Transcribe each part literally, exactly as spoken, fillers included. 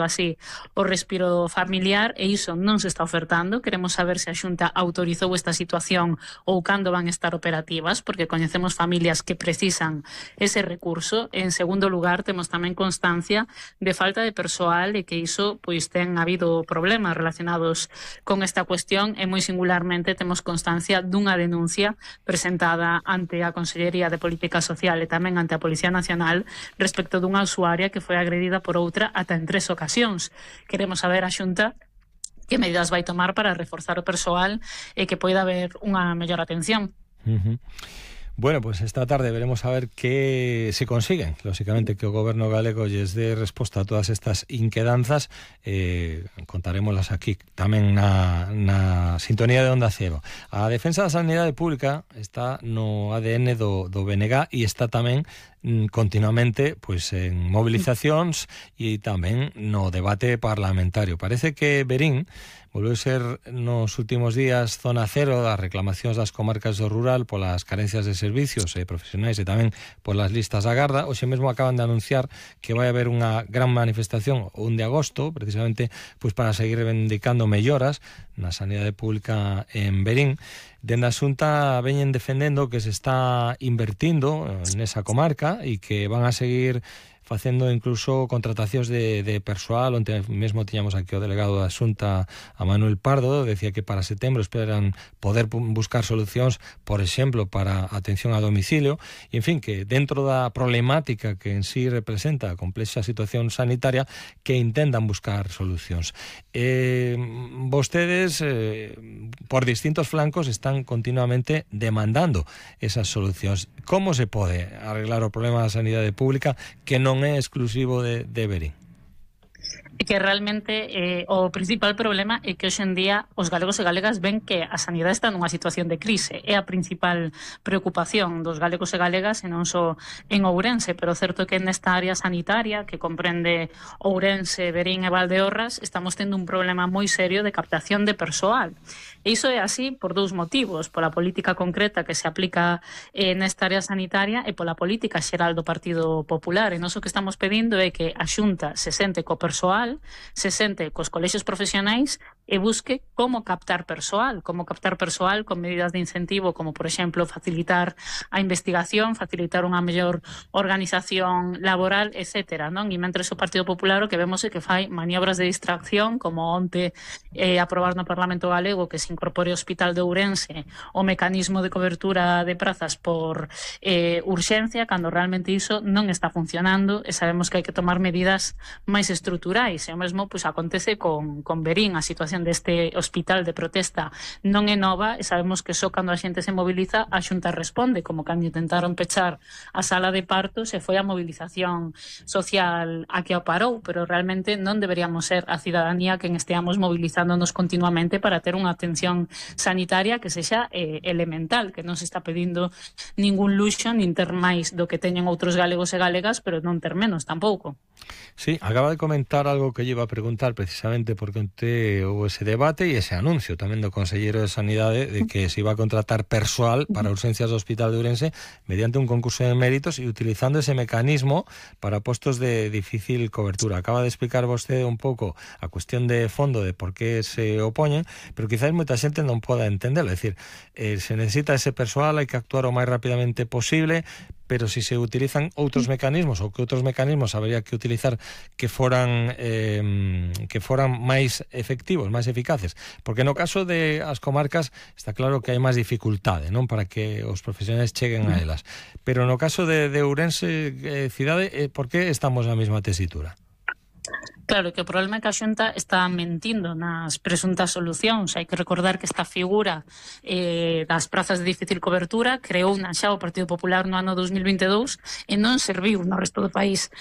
así o respiro familiar e iso non se está ofertando. Queremos saber se a Xunta autorizou esta situación ou cando van estar operativas, porque coñecemos familias que precisan ese recurso. En segundo lugar, temos tamén constancia de falta de persoal e que iso pois ten habido problemas relacionados con esta cuestión e moi singularmente temos constancia dunha denuncia presentada ante a Consellería de Política Social e tamén ante a Policía Nacional respecto dunha usuaria que foi agredida por outra ata en tres ocasións. Queremos saber a Xunta que medidas vai tomar para reforzar o persoal e que poida haber unha mellor atención. Uh-huh. Bueno, pues esta tarde veremos a ver qué se consiguen. Lógicamente que o Goberno galego lles dé resposta a todas estas inquedanzas. Eh, contarémoslas aquí tamén na, na sintonía de Onda Cero. A defensa da sanidade pública está no A D N do, do B N G e está tamén continuamente pues en movilizacións e tamén no debate parlamentario. Parece que Verín volveu ser nos últimos días zona cero das reclamacións das comarcas do rural polas carencias de servicios e profesionais e tamén polas listas da garda. Hoxe mesmo acaban de anunciar que vai haber unha gran manifestación o un de agosto, precisamente pues para seguir reivindicando melloras na sanidade pública en Verín. Dende a Xunta veñen defendendo que se está invertindo nesa comarca e que van a seguir facendo incluso contratacións de, de persoal. Onte mesmo tiñamos aquí o delegado da Xunta, a Manuel Pardo, decía que para setembro esperan poder buscar solucións, por exemplo, para atención a domicilio, e en fin, que dentro da problemática que en sí representa a complexa situación sanitaria, que intentan buscar solucións. Eh, vostedes, eh, por distintos flancos, están continuamente demandando esas solucións. Como se pode arreglar o problema da sanidade pública que non é exclusivo de, de Verín? Que realmente eh, o principal problema é que hoxe en día os galegos e galegas ven que a sanidade está nunha situación de crise. É a principal preocupación dos galegos e galegas, e non só en Ourense, pero certo que nesta área sanitaria que comprende Ourense, Verín e Valdeorras estamos tendo un problema moi serio de captación de persoal. E iso é así por dous motivos: pola política concreta que se aplica eh, nesta área sanitaria e pola política xeral do Partido Popular. E nós o que estamos pedindo é que a Xunta se sente co persoal, se sente cos colexios profesionais e busque como captar persoal, como captar persoal con medidas de incentivo, como por exemplo facilitar a investigación, facilitar unha mellor organización laboral, etcétera, non? E mentres o Partido Popular o que vemos é que fai maniobras de distracción, como onte eh, aprobar no Parlamento Galego que se incorpore ao Hospital de Ourense o mecanismo de cobertura de prazas por eh, urxencia, cando realmente iso non está funcionando e sabemos que hai que tomar medidas máis estruturais. E o mesmo pois, acontece con, con Verín. A situación deste hospital de protesta non é nova e sabemos que só cando a xente se moviliza a Xunta responde, como cando intentaron pechar a sala de partos e foi a movilización social a que o parou, pero realmente non deberíamos ser a cidadanía quen esteamos movilizándonos continuamente para ter unha atención sanitaria que sexa eh, elemental, que non se está pedindo ningún luxo nin ter máis do que teñen outros galegos e galegas, pero non ter menos tampouco. Sí, acaba de comentar algo que lle iba a preguntar precisamente porque onte houve ese debate e ese anuncio tamén do Conselleiro de Sanidade de que se iba a contratar persoal para urgencias do Hospital de Ourense mediante un concurso de méritos e utilizando ese mecanismo para postos de difícil cobertura. Acaba de explicar vostede un pouco a cuestión de fondo de por qué se opoñen, pero quizás moita xente non poda entenderlo. É dicir, eh, se necesita ese persoal, hai que actuar o máis rapidamente posible, pero si se utilizan outros mecanismos ou que outros mecanismos habría que utilizar que foran eh, que foran máis efectivos, máis eficaces, porque no caso de as comarcas está claro que hai máis dificultade, non, para que os profesionais cheguen a elas, pero no caso de, de Ourense eh, cidade, eh, por que estamos na mesma tesitura? Claro, que o problema é que a Xunta está mentindo nas presuntas solucións. Hai que recordar que esta figura eh, das prazas de difícil cobertura creou na xa o Partido Popular no ano dos mil vinte e dous e non serviu no resto do país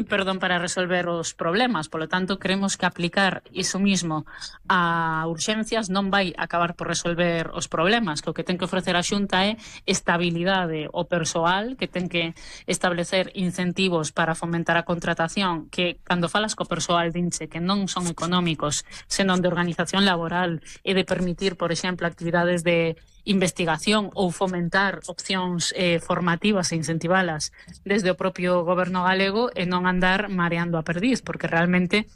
perdón, para resolver os problemas. Por lo tanto, creemos que aplicar iso mismo a urxencias non vai acabar por resolver os problemas, que o que ten que ofrecer a Xunta é estabilidade ao persoal, que ten que establecer incentivos para fomentar a contratación, que cando falas co persoal dinche que non son económicos, senón de organización laboral e de permitir, por exemplo, actividades de investigación ou fomentar opcións eh, formativas e incentivalas desde o propio goberno galego e non andar mareando a perdiz, porque realmente